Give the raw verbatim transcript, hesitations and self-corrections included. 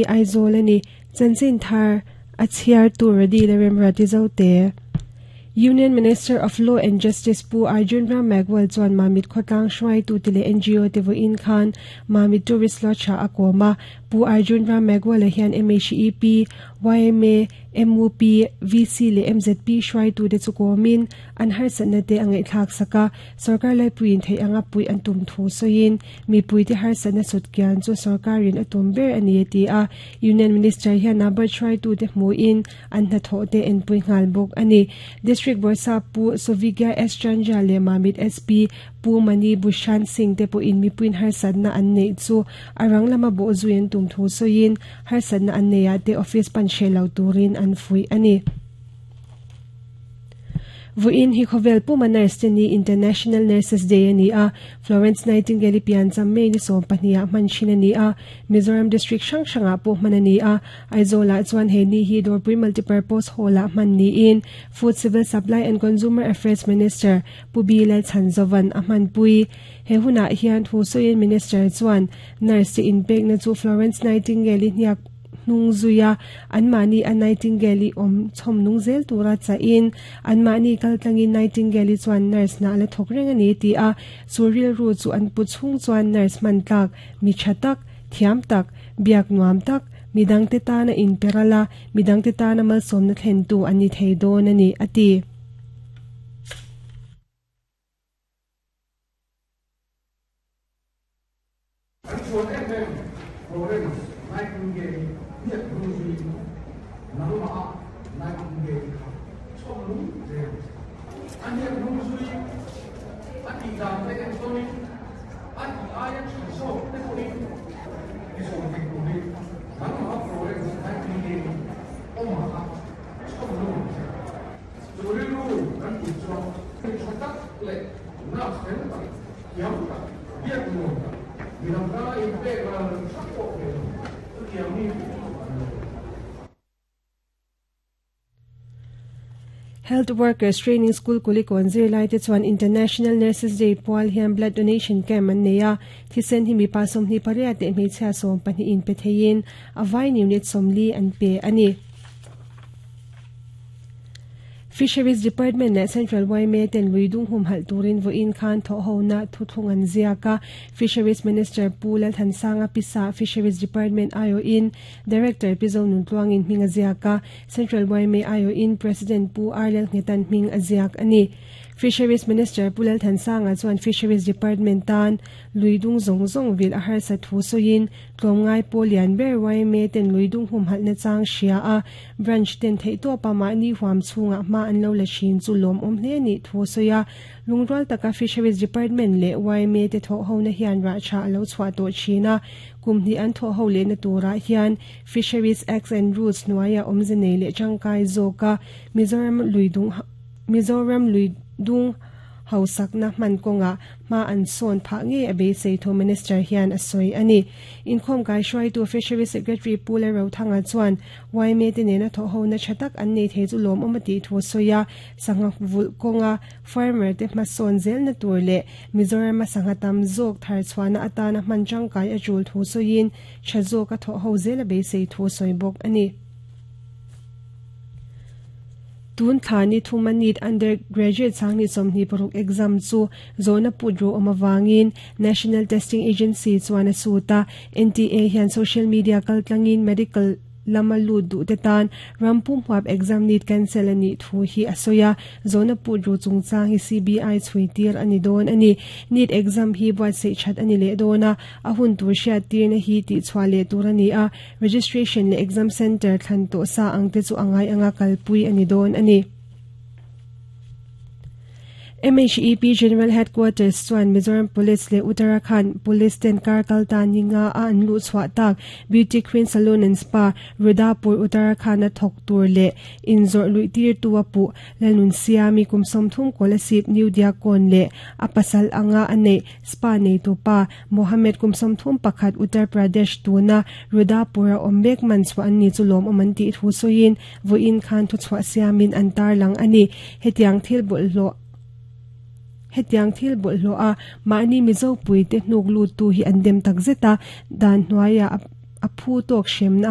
Aizawl ani chanchin thar a chhiar tur radi le remrati zo te. Union Minister of Law and Justice Pu Arjun Ram Meghwal chuan Mamit khawtlang hruai tu te leh N G O te vawiin khan Mamit Tourist Lodge ah a kawm a. Pu Arjun Ram Meghwal ah hian M H E P, Y M A, M U P, V C leh M Z P hruai tu te chu kawmin an harsatna te a ngaihthlak sak a. Sarkar laipuiin thei anga pui an tum thu sawiin mipui te harsatna sut kian chu sarkarin a tum ber ani a ti a. Union Minister hian NABARD hruai tu te hmuin an hnathawh te en pui nghal bawk ani. District Borsa Pu Sovigya S Chandra le Mamit S P Pu Mani Bhushan Singh te pawhin mipuiin harsatna an neih chu arang lama bawh zui an tum thu sawiin harsatna an neihah te office pan hre lo turin an fui ani. Vawiin hi khawvel puma nurse te ni International Nurses Day ani a. Florence Nightingale pian cham May ni sawm pahnih ah hman thin ani a. Mizoram District hrang hrangah pawh hman ani a. Aizawl ah chuan he ni hi Dawrpui Multipurpose Hall ah hman niin Food Civil Supply and Consumer Affairs Minister Pu B Lalchhanzovan a hman pui. He hunah hian thu sawiin Minister chuan nurse te inpekna chu Florence Nightingale hniak nung zuia an mani a Nightingale om chhom nung zel tura cha in an mani kaltlangin Nightingale chuan nurse na la thok reng ani ti a. Suril ru chu an pu chung chuan nurse man tlak mi thatak thiam tak biak nuam tak midang te ta na in perala midang te ta na mal som na thlen tu ani thei don ani ati. Nightingale hiat nung zui nangma Nightingale kha chhom nung zel an hiat nung zui a ti dan te en tonin a ti aia tha zawk te pawhin i zawm thei turin nangma Florence Nightingale awma kha chhom nung zel chu rilru kan pui chuan tha tak leh nurse fel tak thiam tak biak nuam tak midang tana inpek ral hrang pawh thei lo chu tiang mi. Health Workers Training School Kulikawn zirlai te chuan International Nurses Day pual hian blood donation camp an nei a. Thisen hi mipa sawmhnih pariat leh hmeichhia sawm pahnih in pe theiin a vain unit sawmli an pe ani. Fisheries Department leh Central Y M A ten luidung hum halh turin vawiin khan thawh hona thuthlung an ziak a. Fisheries Minister Pu Lalthansanga Pisa Fisheries Department I O in Director Pizo Nuntluangin hming a ziak a. Central Y M A I O in President Pu Arlel Nghetan hming a ziak ani. Fisheries Minister Pu Lalthansanga chuan Fisheries Department tan luidung zawng zawng vil a harsa thu sawiin tlawmngai pawl lian ber Y M A ten luidung hum halhna chang hria a. Branch ten theih tawpa mahni huam chhungah hma an lo la thin chu lawm awm hle ni thu sawi a. Lungrual taka Fisheries Department leh Y M A te thawh hona hian rah tha a lo chhuah tawh thin a. Kum hnih an thawh ho lehna turah hian Fisheries Acts and Rules hnuaia awmze nei leh tangkai zawk a. Mizoram luidung Mizoram luidung hausakna hman kawnga hma an sawn phah nge a beisei thu Minister hian a sawi ani. Inkhawm kai hruai tu Fisheries Secretary Pu Lalrothanga chuan Y M A te nena thawh hona tha tak an nei thei chu lawm awm a tih thu sawi a. Sangha vulh kawnga farmer te hma sawn zelna tur leh Mizoram a sangha tam zawk thar chhuahna atana hman tangkai a tul thu sawiin tha zawk a thawh ho zel a beisei thu sawi bawk ani. Tun thani thuma NEET undergraduate sangni sawmhnih paruk exam chu zawhna put ro awm awangin National Testing Agency chuan a suta. N T A hian social media kaltlangin medical lama lut duh te tan rampum huap exam NEET cancel ani thu hi a sawi a. Zawhna put ro chungchang hi C B I chhui tir ani dawn ani. NEET exam hi buatsaih that ani leh dawn a. A hun tur hriat tirna hi tih chhuah leh tur ani a. Registration leh exam center thlan tawh sa ang te chu angai anga kalpui ani dawn ani. M H E P General Headquarters chuan Mizoram Police leh Uttarakhand Police ten kar kalta ninga a an lu chhuah tak Beauty Queen Salon and Spa Rudapur Uttarakhand a thawk tur leh inzawrh luih tir tu a puh Lalnun Siami kum sawmthum Kolasib New Diakon leh a pasal anga a neih spa nei tu pa Mohammed kum sawmthum pakhat Uttar Pradesh tuna Rudapur a awm mek man chhuah an ni chu lawm awm an tih thu sawiin vawiin khan thu chhuah siamin an tar lang ani. Hetiang thil bawlhhlawh hetiang thil bawlhhlawh a mahni Mizo pui te hnuk lut tu hi an dem tak zeta dan hnuaia a phu tawk hremna